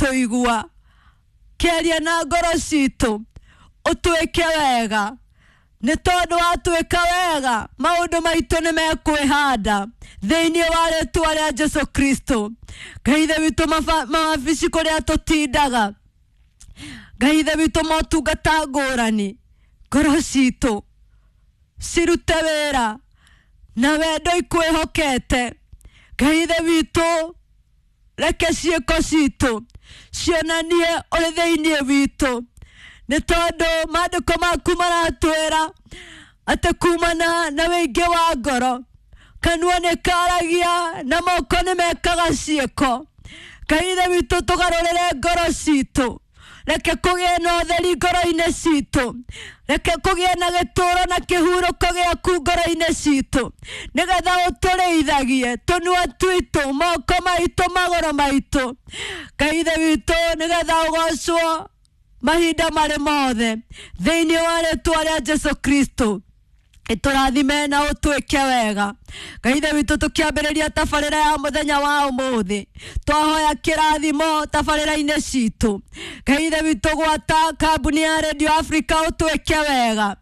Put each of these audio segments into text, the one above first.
gũtũigua. Kĩaria na ngoro citũ, ũtwĩke wega, nĩ tondũ watwĩka wega maũndũ maitũ nĩ mekwĩhanda thĩinĩ wa rĩtwa rĩa Jesu Kristo. Ngai Ithe witũ, mawabici kũrĩa tũtindaga, Ngai Ithe witũ, motungata ngũrani, ngoro citũ cirute wĩra na wendo ikwĩhokete. Ngai Ithe witũ, reke ciĩko citũ cionanie ũrĩ thĩinĩ witũ, nĩ tondũ maandĩko maku maratwĩra atĩ kumana na wĩingĩ wa ngoro kanua nĩ karagia na moko nĩ mekaga ciĩko. Ngai Ithe witũ, tũgarũrĩre ngoro citũ, reke kũgĩe na ũtheri ngoro-inĩ citũ, reke kũgĩe na gĩtũũro na kĩhurũko gĩaku ngoro-inĩ citũ, nĩgetha ũtũrĩithagie tũnua twitũ, moko maitũ, magũrũ maitũ. Ngai Ithe witũ, nĩgetha ũgocwo mahinda marĩ mothe thĩinĩ wa rĩtwa rĩa Jesu Kristo. Ĩtũrathime na ũtwĩke wega. Ngai Ithe witũ, tũkĩambĩrĩria tabarĩra ya mũthenya wa ũmũthĩ, twahoya kĩrathimo tabarĩra-inĩ citũ. Ngai Ithe witũ, gwata kambuni ya Radio Africa, ũtwĩke wega.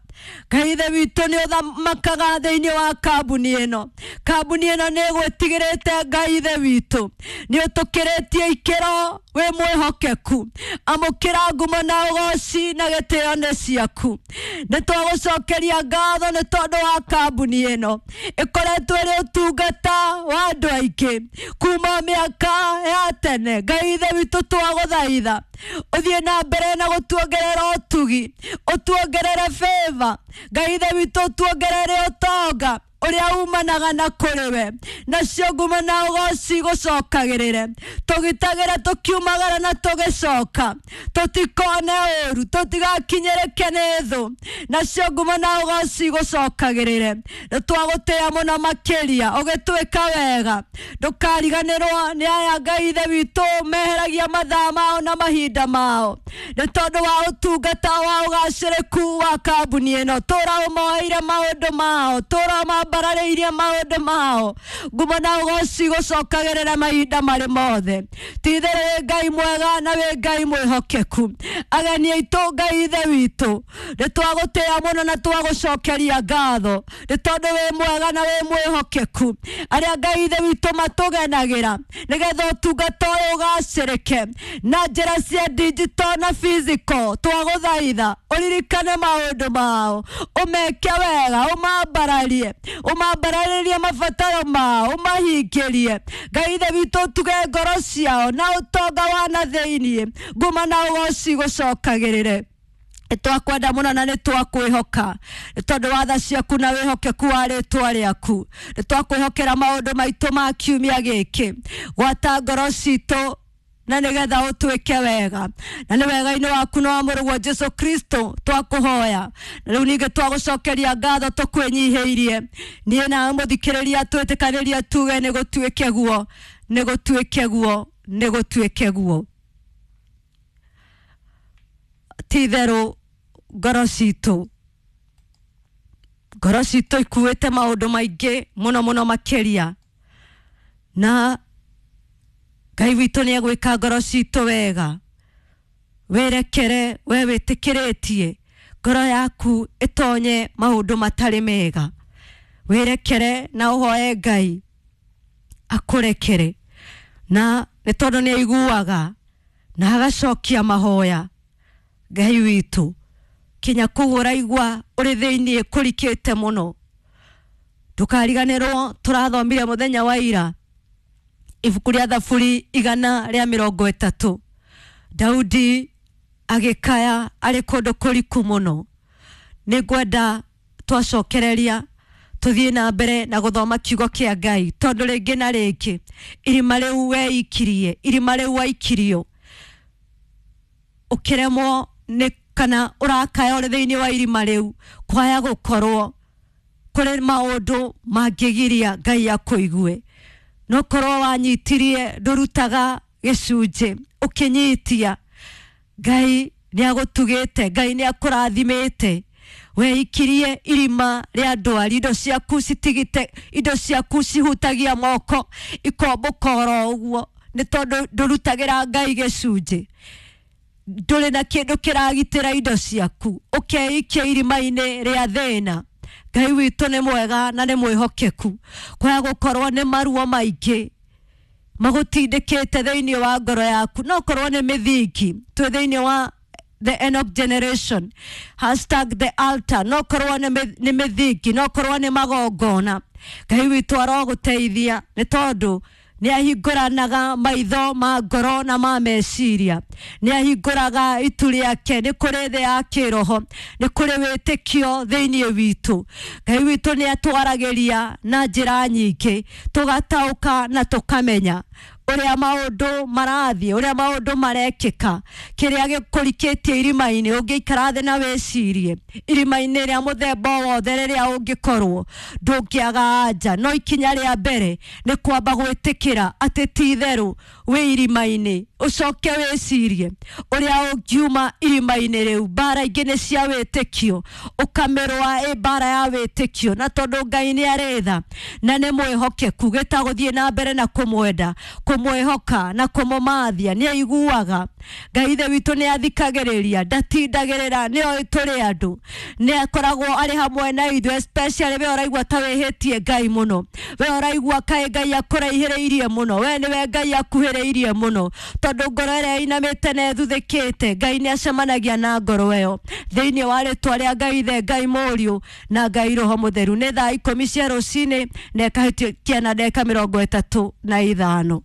Ngai Ithe witũ, nĩ ũthamakaga thĩinĩ wa kambuni ĩno. Kambuni ĩno nĩ ĩgwĩtigĩrĩte. Ngai Ithe witũ, nĩ ũtũkĩrĩtie ikĩro, wĩ mwĩhokeku. Amũkĩra ngumo na ũgoci na gĩtĩo nĩ ciaku. Nĩ twagũcokeria ngatho nĩ tondũ wa kambuni ĩno ĩkoretwo ĩrĩ ũtungata wa andũ aingĩ kuma mĩaka ya tene. Ngai Ithe witũ, twagũthaitha ũthiĩ na mbere na gũtuongerera ũtugi, ũtuongerere favor. Ngai Ithe witũ, ũtuongerere ũtonga ũrĩa umanaga na kũrĩ we, nacio ngumo na ũgoci gũcokagĩrĩre. Tũgitagĩre tũkiumagara na tũgĩcoka, tũtikone ũru, tũtigakinyĩrĩke nĩ thũ, nacio ngumo na ũgoci gũcokagĩrĩre. Nĩ twagũtĩĩa mũno makĩria ũgĩtwĩka wega. Ndũkariganĩrwo nĩ aya, Ngai Ithe witũ, meheragia mathaa mao na mahinda mao nĩ tondũ wa ũtungata wa ũgacĩrĩku wa kambuni ĩno. Tũra ũmoeire maũndũ mao, tũra ũmambararĩirie maũndũ mao, ngumo na ũgoci gũcokagĩrĩra mahinda marĩ mothe. Ti-itherũ wĩ Ngai mwega na wĩ Ngai mwĩhokeku. Ageni aitũ, Ngai Ithe witũ, nĩ twagũtĩĩa mũno na twagũcokeria ngatho nĩ tondũ wĩ mwega na wĩ mwĩhokeku. Arĩa, Ngai Ithe witũ, matũgenagĩra nĩgetha ũtungata ũyũ ũgacĩrĩke na njĩra cia digital na physical, twagũthaitha ũririkane maũndũ mao, ũmeke wega, ũmambararie, ũmambararĩrie mabataro mao, ũmahingĩrie. Ngai Ithe witũ, ũtuge ngoro ciao na ũtonga wa na thĩiniĩ, nguma na ũgoci gũcokagĩrĩre. Nĩ twakwenda mũno na nĩ twakwĩhoka nĩ tondũ wa tha ciaku na wĩhokeku wa rĩtwa rĩaku. Nĩ twakwĩhokera maũndũ maitũ ma kiumia gĩkĩ. Gwata ngoro citũ na nĩgetha ũtwĩke wega, na nĩ wega-inĩ waku na wa mũrũguo Jesu Kristo twakũhoya. Na rĩu ningĩ twagũcokeria ngatho tũkwĩnyihĩirie. Niĩ nawe mũthikĩrĩria, twĩtĩkanĩrie tuge nĩ gũtuĩke guo, nĩ gũtuĩke guo, nĩ gũtuĩke guo. Ti itherũ ngoro citũ ikuĩte maũndũ maingĩ mũno mũno makĩria, na Ngai witũ nĩ egwĩka ngoro citũ wega. Wĩrekere we wĩtĩkĩrĩtie ngoro yaku ĩtonye maũndũ matarĩ mega. Wĩrekere na ũhoe Ngai akũrekere, na nĩ tondũ nĩ aiguaga na agacokia mahoya. Ngai witũ, kinya kũu ũraigua ũrĩ thĩiniĩ kũrikĩte mũno, ndũkariganĩrwo tũrathomire mũthenya wa ira ibuku rĩa Thaburi 130. Daudi agĩkaya arĩ kũndũ kũriku mũno. Nĩ ngwenda twacokereria tũthiĩ na mbere na gũthoma kiugo kĩa Ngai, tondũ rĩngĩ na rĩngĩ irima rĩu weikirie, irima rĩu waikirio, ũkĩremwo nĩ kana ũrakaya ũrĩ thĩinĩ wa irima rĩu, kwaya gũkorwo kũrĩ maũndũ mangĩgiria Ngai akũigue. No korwo wanyitirie ndũrutaga gĩcunjĩ, ũkĩnyitia, Ngai nĩ agũtugĩte, Ngai nĩ akũrathimĩte, weikirie irima rĩa ndwari, indo ciaku citigite, indo ciaku cihutagia moko ikombũka oro ũguo. Nĩ tondũ ndũrutagĩra Ngai gĩcunjĩ, ndũrĩ na kĩndũ kĩragitĩra indo ciaku, ũkeikia irima-inĩ rĩa thĩna. Ngai witũ nĩ mwega na nĩ mwĩhokeku. Kwaya gũkorwo nĩ maruo maingĩ magũtindĩkĩte thĩinĩ wa ngoro yaku, no korwo nĩ mĩthingi. Twĩ thĩinĩ wa the Enoch generation, #TheAltar. No korwo nĩ mĩthingi, no korwo nĩ magongona. Ngai witũ arogũteithia, nĩ tondũ nĩ ahingũranaga maitho ma ngoro na ma meciria, nĩ ahingũraga itu rĩake. Nĩ kũrĩ thĩ ya kĩroho, nĩ kũrĩ wĩtĩkio thĩinĩ witũ. Ngai witũ nĩ atwaragĩria na njĩra nyingĩ, tũgataũka na tũkamenya ũrĩa maũndũ marathiĩ, ũrĩa maũndũ marekĩka. Kĩrĩa gĩkũrikĩtie irima-inĩ, ũngĩikara thĩ na wĩcirie irima-inĩ rĩa mũthemba o wothe rĩrĩa ũngĩkorwo, ndũngĩaga anja. No ikinya rĩa mbere nĩ kwamba gwĩtĩkĩra atĩ ti itherũ wĩ irima-inĩ, ũcoke wĩcirie ũrĩa ũngiuma irima-inĩ rĩu. Mbara ingĩ nĩ cia wĩtĩkio, ũkamĩrũa ĩ mbara ya wĩtĩkio, na tondũ Ngai nĩ arĩ tha na nĩ mwĩhokeku, gĩtagũthiĩ na mbere na kũmwenda, kũmwĩhoka na kũmũmathia. Nĩ aiguaga. Ngai ithe witũ nĩ athikagĩrĩria, ndatindagĩrĩra, nĩ oĩ tũrĩ andũ, nĩ akoragwo arĩ hamwe na ithuĩ, especially we ũraigua ta wĩhĩtie Ngai mũno, we ũraigua kaĩ Ngai akũraihĩrĩirie mũno, we nĩwe Ngai akuhĩrĩirie mũno, tondũ ngoro ĩrĩa ĩinamĩte na ĩthuthĩkĩte, Ngai nĩ acemanagia na ngoro ĩyo. Thĩinĩ wa rĩtwa rĩa Ngai Ithe, Ngai Mũriũ na Ngai Roho Mũtheru. Nĩ thaa 10 cia rũcinĩ na ĩkahĩtũkia na ndagĩka 35.